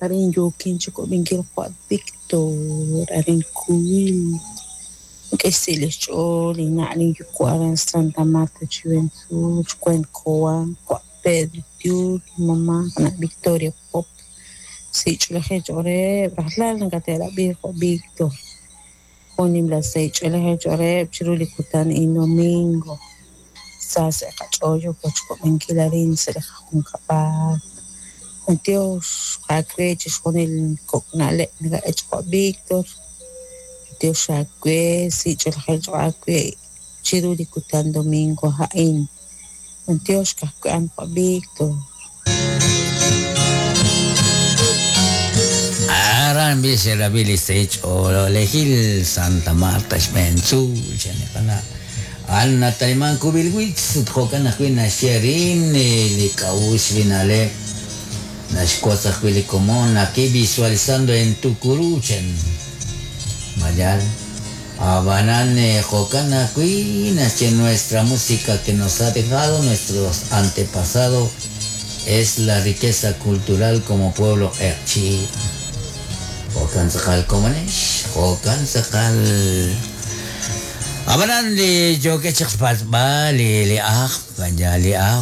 Arin yookin chikub'inkil qawa' Víctor, arin Kuwil. Ink'a' xsi' li xch'ool linna' linyuwa' aran Santa Marta Chiwentzuul, xweent Cobán, qawa' Pedro Tiul, linmamá qana' Victoria Pop. Sahil ch'oolejil cho'q reheb', rajlal nakate'rab'i qawa' Víctor. Jun nimla sahil ch'oolejil cho'q reheb' chiru li kutan a'in domingo. Sa sa' qach'ool yooko chikub'inkil arin sa' li qajunkab'al. B'antiox aawe chixjunil kok' na'leb' nakak'e qawa' Víctor. B'antiox aawe, sahil ch'oolejil cho'q aawe chiru li kutan domingo a'in. B'antiox ka'ajwi' a'an qawa' Víctor. Aran b'i xerab'i li sahil ch'oolejil Santa Marta xb'een tzuul chan li qana' a'an nataliman Kubilwitz ut jo'kan ajwi' naxye arin li k'a'uxl li na'leb' naxwotz ajwi' li komon aquí visualizando en Tucurú chan mayal ab'anan jo'kan ajwi' naxye nuestra música que nos ha dejado nuestros antepasados es la riqueza cultural como pueblo q'eqchi'. Jo'kan tz'aqal komonex, jo'kan tz'aqal. Ab'anan li yookeb' chaq xpatz'b'al li li ajl, vaya li ajl.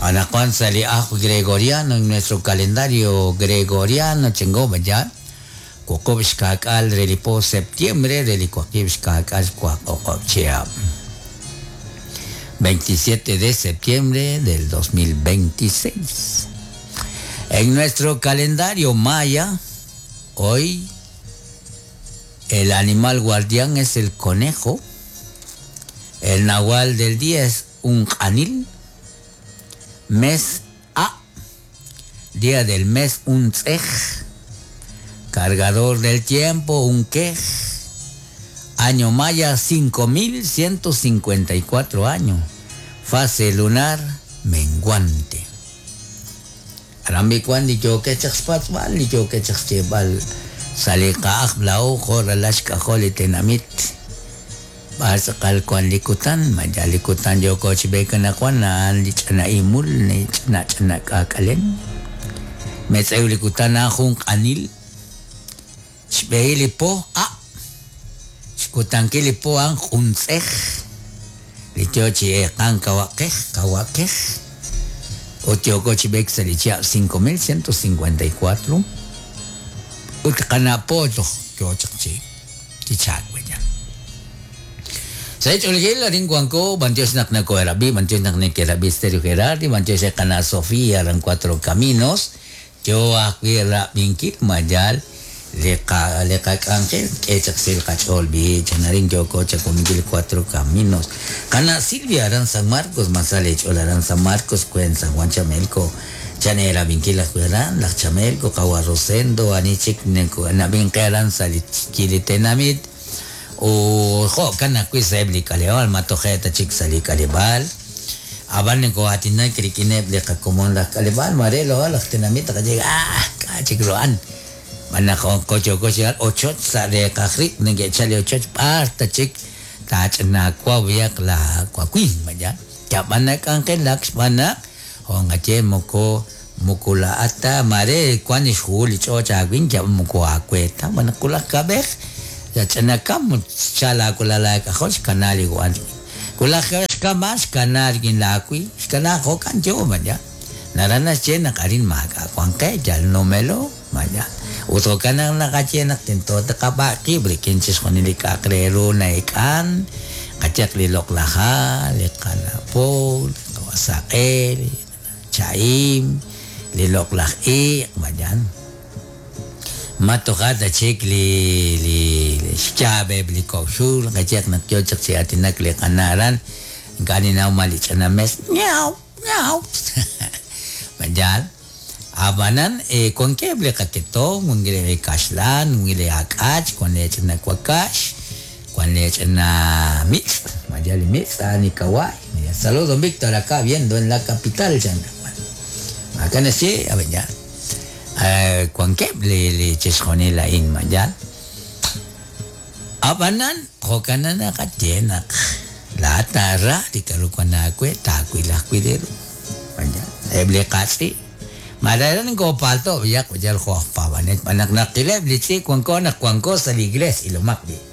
Anaqwan sa' li ajl gregoriano en nuestro calendario gregoriano chengo vaya. Wuqub' xka'k'aal re li po septiembre re li waqib' xka'k'aal waqoqob' chihab'. 27 de septiembre del 2026. En nuestro calendario maya, hoy el animal guardián es el conejo, el nahual del día es un anil, mes A, día del mes un tzej, cargador del tiempo un quej, año maya 5154 años, fase lunar menguante. Arambi kwan li yookeb' chaq xpatz'b'al, li yookeb' chaq xyeeb'al sa' li qa'aj laa'o jo' ralal xk'ajol li tenamit. B'ar tz'aqal wan li kutan, maya li kutan yooko chi b'eek anaqwan a'an li ch'ina imul, li ch'ina ch'ina k'aak'alem. Metz'ew li kutan a'an jun q'anil, xb'ehil li po a', xkutankil li po a'an jun tz'ej, li yoo chi eeqan kawaqej, kawakej. Ut yooko chi b'eek sa' li chihab' 5154 ut qana' po toj yoo chaq chi chi chaak vaya. Sa' ch'oolejil arin wanko, b'antiox naq nakoherab'i, b'antiox naq nekerab'i Stereo Gerardi, b'antiox re qana' Sofía aran Cuatro Caminos, yoo ajwi' rab'inkil mayal li qa li qak'anjel k'e chaq sil qach'ool b'i chan arin yooko chakuminkil Cuatro Caminos. Qana' Silvia aran San Marcos, masal ch'ool aran San Marcos, kuen San Juan Chamelco, chan erab'inkil ajwi' aran, laj Chamelco, qawa Rosendo, ani chik nab'inqe aran sa' li li tenamit, u jo'kan ajwi' sa'eb' li k'aleb'aal, ma toje' ta chik sa' li k'aleb'aal. Ab'an nokoo'aatinak rik'ineb' li qakomon laj k'aleb'aal, mare lo laj tenamit qaye ah k'a' chik ro'an. B'an naq qoyoko chi ochoch sa' reeqaj rib' neke'chal li ochoch b'ar ta chik taach'inaawa b'ayaq la wawin vaya. Yab'an nak'anjelak xb'aan naq jo'nqaye moko moko la'at ta mare wan xhuhul li ch'och aawin yab'an moko aawe ta b'an naq wulaj kab'ej yach'inakam ut xchal aawalal aak'ajol xkana li wan. Wulaj kab'ej xkama xkana rik'in laawi xkana jo'kan yo vaya. Naraj naxye naq arin maak'a' wan qe yal numelo vaya. Ut jo'kan naq naqaye naq tento taqab'a' qib' rik'in chixjunil li k'a'aq re ru na'ek'an, qayaq li loq'laj ha', li qanapo, li qasaq'e, li cha'im, li loq'laj iq', vaya. Ma toja' ta chik li li xyaab'eb' li kok' xul, qayaq naq yoo chaq chi aatinak li qana' aran, ink'a' ninnaw ma li ch'ina mes, miaw, miaw. Vaya. Ab'anan wankeb' li qaketom, wankeb' li kaxlan, wankeb' li ak'ach, wan li ch'ina wakax, wan li ch'ina mitz', vaya li mitz' a'an li kawaay. Saludos Víctor acá viendo en la capital chan. Acá naxye, a ver ya. Wankeb' li li chixjunil a'in vaya. Ab'anan jo'kan naqaye naq laa'at taara li k'aru wan aawe taawil ajwi' li ru. Vaya. Eb' li qatz'i'. Mare nkopalto biyaq yal jo aj paab'anel xb'aan naq naqileb' li tz'i' wanko naq wanko sa' li iglesia ilomaq b'i'.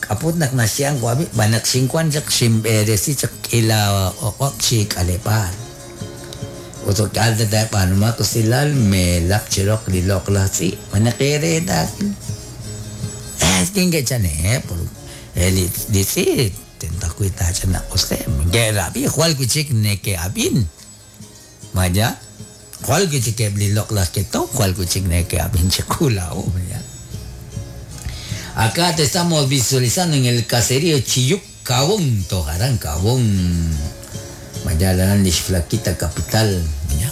K'aput naq naxye'an wab'i b'an naq xinwan chaq xinb'eresi chaq k'ila oq'ob' chi k'aleb'aal. Ut ok'al tata'b'aanumaq usilal meelaq chiroq li loq'laj tz'i' b'an naq ereetakil. Kinke'chane por li tz'i' tento ajwi' taach'inaq'useb' nke'rab'i jwal wi' chik neke'ab'in. Vaya, jwal wi' chik eb' li loq'laj ketom jwal wi' chik neke'ab'in chiqu laa'o, vaya. Acá te estamos visualizando en el caserío Chiyuc Cabón, Tojarán Cabón. Vaya la Flaquita capital, vaya.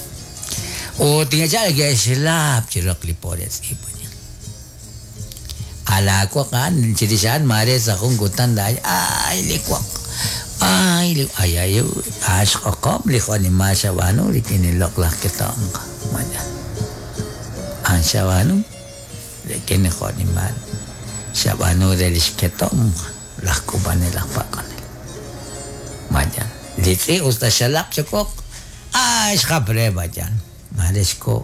O tingachal que es lap chiroq li pores y vaya. Alakwaqan chirishan mare sa jun kutan da ay likwaq. Ay li ay ay ash qoqom li joni ma shabanu li kini loqlaj ketonq. Vaya. An shabanu li kini joni ma shabanu de lixketom laj k'ub'anel laj pak'anel. Vaya. Li tz'i' usta xalaq chokoq ay xjapre vaya. Marexko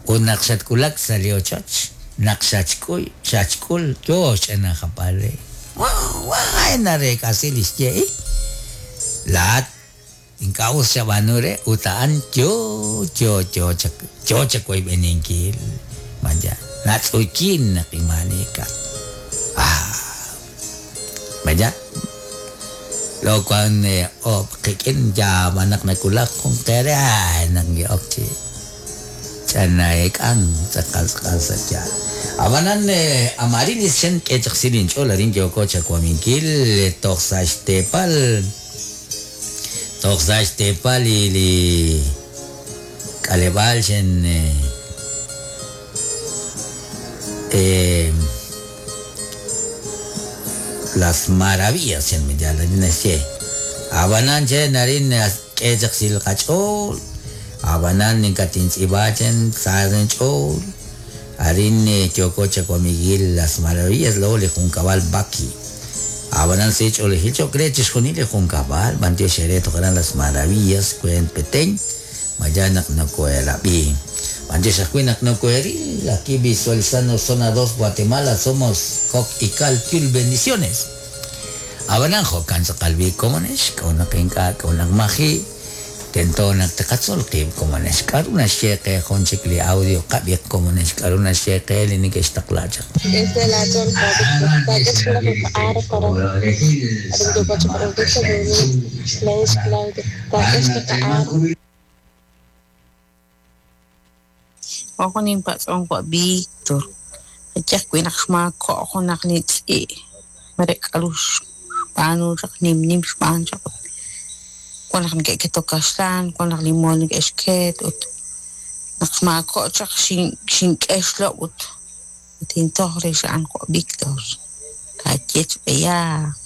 ut naq xatkulak sa' li ochoch naq xachk'uy xachk'ul yo ch'ina japale. Wa wa narek'asi li xye'i. Laat ink'a' us xab'aanu re ut a'an yo yo yo chak yo chakoyb'eninkil. Vaya. Natz'ukin naq imanika. Ah. Vaya. Lo kwan o qikin ya manak nakulak kung kere ay nang giok chi chanaek'an tz'aqal tz'aqal sa yaal. Abanan amarilis chen k'echaqsilin ch'ol arin yoko chakwaminkil toj sa' xteepal toj sa' xteepal li k'aleb'aal chen Las Maravillas chen miyal arin naxye. Abanan chen arin k'echaqsil qach'ool abanan ninkatintz'ib'a chen saren ch'ool arin yoko chakwamigil Las Maravillas lo li junkab'al Baki. Abanan si ch'oolejil chokre chixjunil li junkab'al b'antiox xere tojaran Las Maravillas kuen Petén maya naq nokoerab'i. B'antiox ajwi' naq nokoeril aquí visualizando zona 2 Guatemala somos Coc y Cal Kyul bendiciones. Abanan jo'kan tz'aqal b'i komonex k'awnaq ink'a' k'awnaq maji' tento naq taqatzol qib' komonex k'aru naxye qe jun chik li audio qab'iq komonex k'aru naxye qe li neke'xtaqla chaq. Desde la zona Ojo ninpatz'on wa Víctor. Yach wi' naq xmaako' junaq li tz'i' mare k'aru xb'aanu chaq nim nim xb'aan chaq wan naq neke'ketok kaxlan wan naq li mool neke'xket ut naq xmaako' chaq xink'e xlob' ut tintoj re xa'an wa Víctor. Taaye chb'eyaq.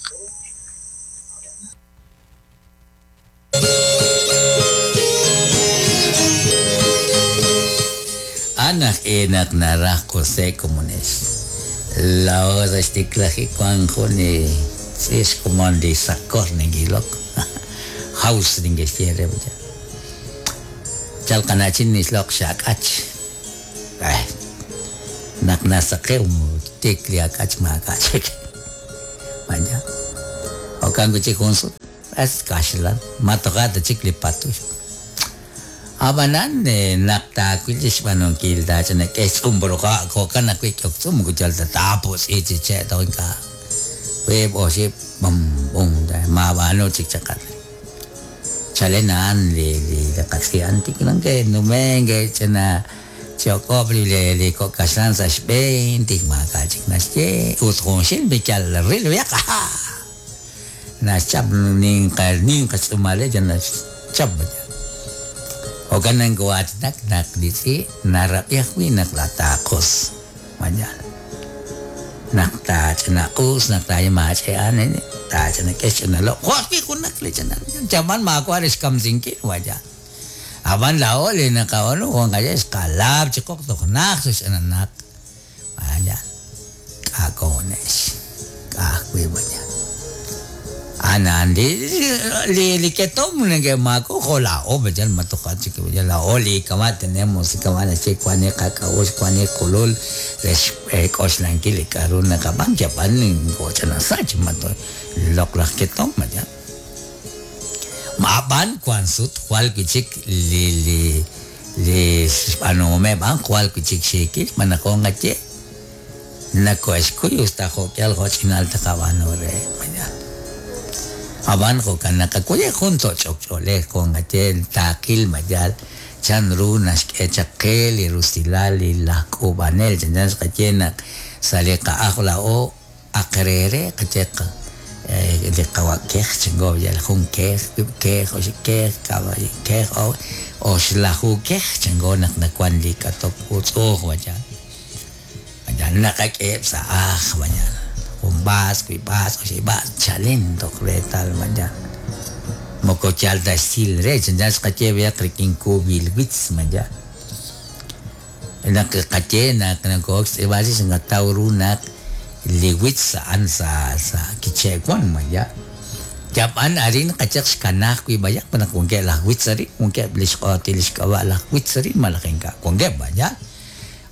Anaq enaq naraj José komonex. La hora xtiklaji kwan jun tz'ix komon li sakor ningilok. House ningexye re vaya. Chal qanachin nisloq xak'ach. Ay. Naq nasaqew tik li ak'ach maak'achik. Vaya. Okan kuchik jun sut. Es kaxlan. Matoqata chik li patux. Abanan naq taawil li xb'aanunkil taach'anak'e xtz'umb'ruqa' jo'kan ajwi' k'oktz'um kuchal tatapus ichiche' toj ink'a' wiib' oxib' bum bum maab'aanu chik chaqal. Chalen a'an li qatz'i'an tik nke'numen ke'ch'ina chi'ok'ob' li kok' kaxlan sa' xb'een tik maak'a' chik naxye ut junxil michal ril b'iyaq naxchap ninqa ninqa tz'uumalej naxchap Jo'kan nkoaatinak naq li tz'i' narab'i ajwi' naq lataaqus. Vaya. Naq taach'inaq'us naq taayemaach'e'an taach'inak'e xch'inalob' jo' ajwi' junaq li ch'inal chaman maawa' re xkamsinkil vaya. Ab'an laa'o li naqab'aanu wan qaye xqalaab' chiqoq toj naj xch'inanaq. Vaya. K'akonex. K'ajwi' vaya. A'an a'an li li li ketom neke'maako jo' laa'o yal ma toja' chik yal laa'o li kama' tenemos kama' naxye wan li qak'a'uxl wan li qulul re xk'oxlankil li k'a'ru naqab'an yab'an ch'ina sach ma loq'laj ketom yal Ab'an wan sut jwal wi' chik li li li xb'aanuhomeb' a'an jwal wi' chik xiikil xb'aan naq jo' nqaye nakohe'xkuy usta jo'k'ihal jo'ch'inal taqab'aanu reheb'. Ab'an jo'kan naqakuy jun toch'ok ch'oolej jo' nqaye taaqil ma yaal chan ru naxk'e chaq qe li rusilal li laj k'uub'anel chanchan xqaye naq sa' li qa'aj laa'o aq re qaye li qawa' kej chanko yal jun kej wib' kej oxib' kej kab' kej oxlaju kej chanko naq nawan li k'atok utz'uuj wayal wayal naqak'eheb' sa' aj wayal jun b'aas wib' b'aas oxib' b'aas chalen toj reetal wayal moko yal ta xsil re chanchan xqaye b'ayaq rik'in kub'il witz mayal naq qaye naq nako'ok xtz'iib'al chix naqataw ru naq li witz a'an sa sa K'iche' wan maya yab'an arin qachaq xkanaj wi' b'ayaq naq wankeb' laj witz arin wankeb' li xq'otil li xk'ab'a' laj witz arin malaj ink'a' wankeb' maya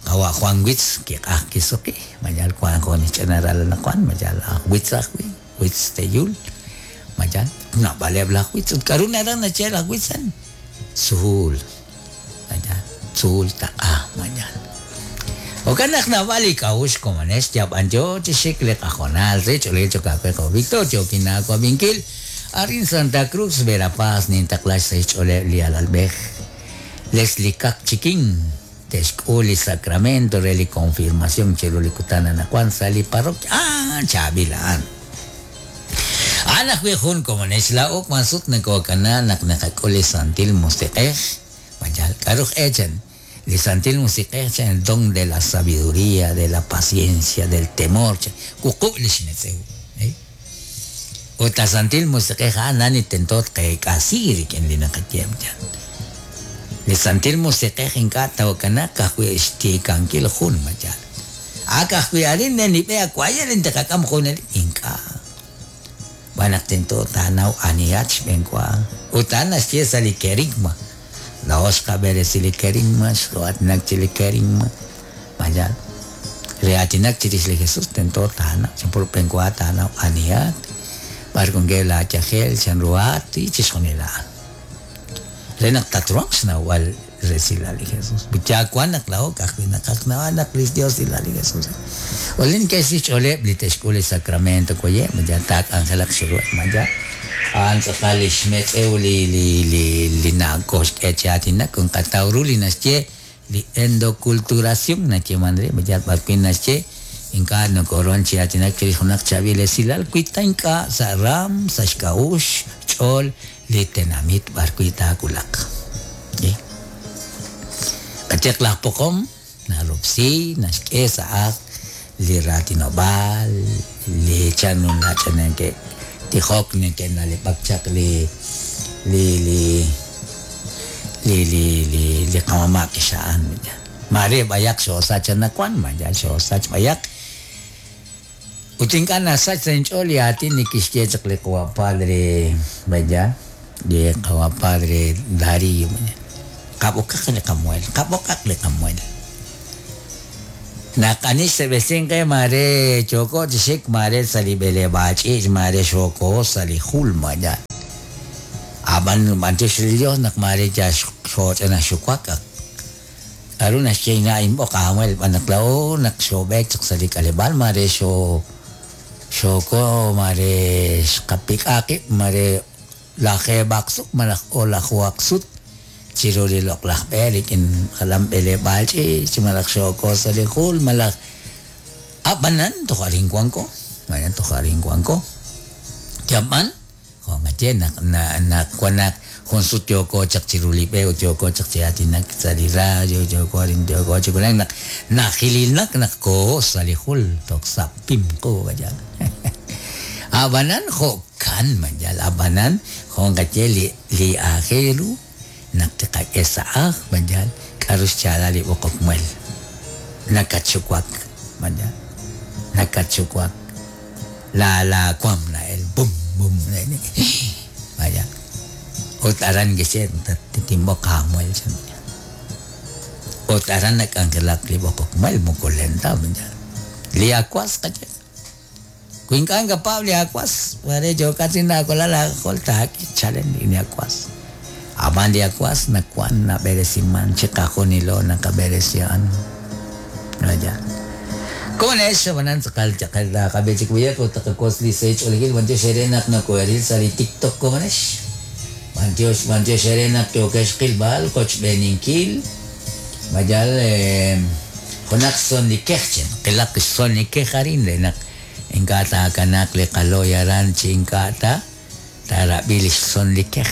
qawa' Juan Witz kiq'aj kisuqi mayal wan jun xch'ina ral anaqwan mayal aj witz ajwi' Witz Teyul mayal naab'aleb' laj witz ut k'a'ru naraj naxye laj witz a'an tzuul mayal tzuul taq'a mayal jo'kan naq naab'al li k'a'uxl komonex yab'an yo chi xik li qajonal re ch'oolil cho'q aawe jo' Victor yookin aawab'inkil arin Santa Cruz Verapaz nintaqla xsahil xch'ooleb' li alalb'ej Leslie Kak Chikin te'xk'ul li sacramento re li confirmación chiru li kutan anaqwan sa' li parroquia ah chaab'il a'an a'an ajwi' jun komonex laa'o wan sut nakokana naq naqak'ul li Santil Musiq'ej mayal k'a'ru echan li Santil Musiq'ej chan el don de la sabiduría de la paciencia del temor chan wuqub' li xmetz'ew ut la Santil Musiq'ej a'an nani tento tqeek'asi rik'in li naqaye chan li Santil Musiq'ej ink'a' tawakanak ka'ajwi' xtiikankil jun mayal ak ajwi' arin nenib'e awayel intaqak'am junelik ink'a' b'an naq tento taanaw anihat xb'eenwa ut a'an naxye sa' li kerigma laa'o xqab'eresi li kerigma xqo'aatinak chi li kerigma mayal re aatinak chirix li Jesús tento taanaw chanpur b'eenwa taanaw anihat b'ar wankeb' laayajel chanruhat y chixjunil a'an re naq tatruhanq xnawb'al resilal li Jesús yawan naq laa'o ka'ajwi' naqaj naq li Dios ilal li Jesús olin ke'xsi xch'ooleb' li te'xk'ul li sacramento koye mayal taak'anjelaq chiruheb' mayal a'an tz'aqal li xmetz'ew li li li li nakoxk'e chi aatinak nqataw ru li naxye li endoculturación nayeeman re mayal b'ar wi' naxye ink'a' nokoruhan chi aatinak chirix junaq chaab'il esilal wi ta ink'a' sa' ram sa' xk'a'uxl xch'ool li tenamit b'ar wi' taawulaq qacheq laj poqom naroksi naxk'e sa' aj li raatinob'aal li chan ru nach'ananke tijok neke'na'leb'ak chaq li li li li li li li qamama' kixa'an mare b'ayaq xoosach anaqwan mayal xoosach b'ayaq ut ink'a' nasach sa' inch'ool li aatin li kixye chaq li qawa' padre vaya li qawa' padre Darío qab'okaq li qamuel qab'okaq li qamuel naq ani xseb'esin qe mare yooko chi xik mare sa' li b'eleb'aal ch'iich' mare xooko sa' li jul maya ab'an b'antiox li Dios naq mare yal xooch'ina xuwak k'a'ru naxye ink'a' inb'oq aamuel b'an naq laa'o naq xoob'eek chaq sa' li k'aleb'aal mare xoo xooko mare xqapik'a qib' mare lajeeb'aq sut malaj o'lajuhaq sut chiru li loq'laj b'e rik'in jalan b'eleb'aal ch'iich' malaj xooko sa' li jul malaj ab'anan toj arin wanko maya toj arin wanko yab'an jo' nqaye naq naq wan naq jun sut yooko chaq chiru li b'e ut yooko chaq chi aatinak sa' li radio yooko arin yooko chi wulak naq najililnak naq kooho sa' li jul toj sa' pim qu mayal ab'anan jo'kan mayal ab'anan jo' nqaye li li aajel ru naq tiqak'e sa' aj mayal k'a'ru xchaalal li b'oqok muel nakatxuwak mayal nakatxuwak la la kuam na'el bum bum. Vaya. Ut aran kixye tinb'oq aamuel chan. Ut aran nak'anjelak li b'oqok muel moko len ta. Li akwas qaye. Wi ink'a' nakapaab' li akwas, mare yookat chi naawalal aak'ajol taak'e chalen li akwas. Ab'an li akwas nawan nab'eresiman chiqajunilo naqab'eresi a'an. Vaya. Komonex, ab'anan tz'aqal chaqel taqab'i chik b'ayaq ut taqakotz li sahil ch'oolejil b'antiox eere naq nokoheril sa' li TikTok komonex. B'antiox, b'antiox eere naq yookex qilb'al qochb'eeninkil. Mayal junaq son li kej chen, qilaq xson li kej arin re naq ink'a' taakanaaq li qalo'y aran chi ink'a' ta taarab'i li xson li kej.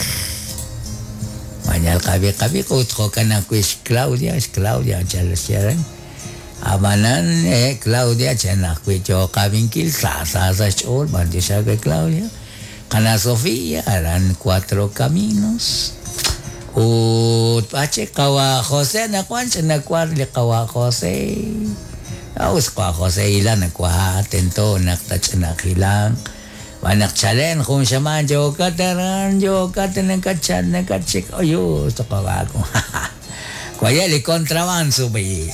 Mayal qab'i qab'i ut jo'kan ajwi' xClaudia, xClaudia chal xye aran. Ab'anan Claudia chan ajwi' yooq qab'inkil sa sa sa' xch'ool b'antiox aawe Claudia. Qana' Sofía aran Cuatro Caminos. Ut b'ar chik qawa' José anaqwan ch'ina war li qawa' José. Us qawa' José hilan nawaha tento naq tach'inaq hilanq. Xb'aan naq chalen jun xamaan yookat aran yookat nakatchal nakatxik oyus toq'ob'aaku. Waye' li contrabando b'i.